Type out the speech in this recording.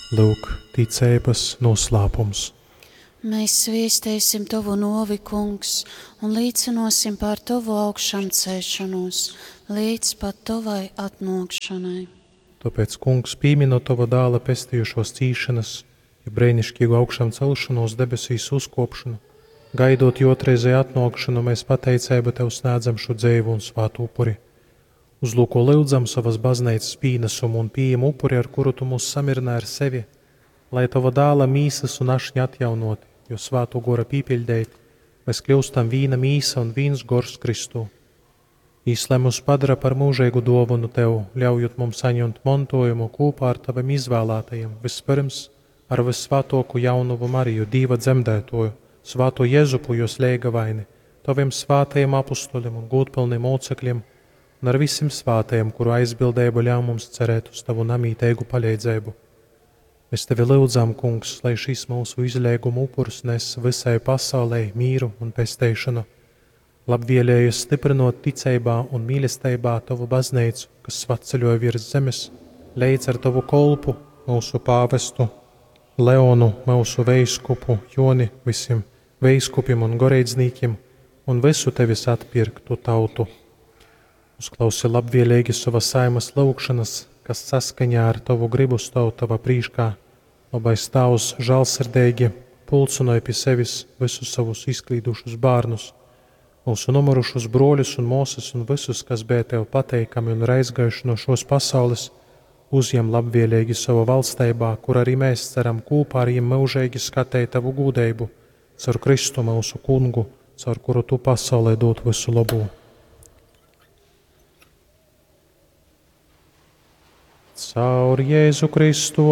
Lyuk, ticeibas noslēpums. Mēs sviestēsim Tovu novi, Kungs, un līcinosim par Tovu augšām celšanos līdz pat Tovai atnākšanai. Tāpēc, Kungs, pieminot Tava dēla pestījušos cīšanas, jo brēnišķīgu augšām celšanos debesīs uzkopšanu, gaidot jo otrreizēju atnākšanu, mēs pateicību Tev sniedzam šo dzēvu un svātu upuri. Uzlūko lūdzam savas baznīcas pienesumu un pieejam upuri, ar kuru Tu mūs samierināji ar sevi, lai Tava dēla mīsas un ašņa atjaunoti, jo svāto gora pīpiļdēti, mēs kļūstam vīna mīsa un vīns gors Kristū. Īs, lai mūs padara par mūžīgu dāvanu Tev, ļaujot mums saņemt mantojumu kopā ar Taviem izvēlētajiem, vispirms ar vissvētāko jaunuvu Mariju, Dīva dzemdētoju, svāto Jēzupu, jos leigavaini, Taviem svātajiem apustuļiem un gūtpilniem mocekļiem, un ar visiem svātajiem, kuru aizbildību ļauj mums cerēt uz Tavu namītīgu palīdzību. Mēs Tevi lūdzam, Kungs, lai šis mūsu izlēguma upurs nes visai pasaulē mīru un pesteišanu. Labvēlējies stiprinot ticībā un mīlestībā Tavu baznīcu, kas svatceļoja virs zemes, leidz ar Tavu kolpu, mūsu pāvestu, Leonu, mūsu veiskupu, Joni, visiem veiskupiem un goreidznīkiem, un visu Tevis atpirktu tautu. Uzklausi labvēlīgi savas saimas lūgšanas, kas saskaņā ar Tavu gribu stāv Tava prīškā. Labais Tavs žēlsirdīgi pulcinoja pie sevis visus savus izklīdušus bērnus, mūsu nomurušus broļus un mūsas un visus, kas bija Tev pateikami un ir aizgājuši no šos pasaules, uzņem labvēlīgi savu valstībā, kur arī mēs ceram kopā ar viņiem mūžīgi skatīt Tavu gūdību, caur Kristu mūsu kungu, caur kuru Tu pasaulē dod visu labu. Caur Jēzu Kristu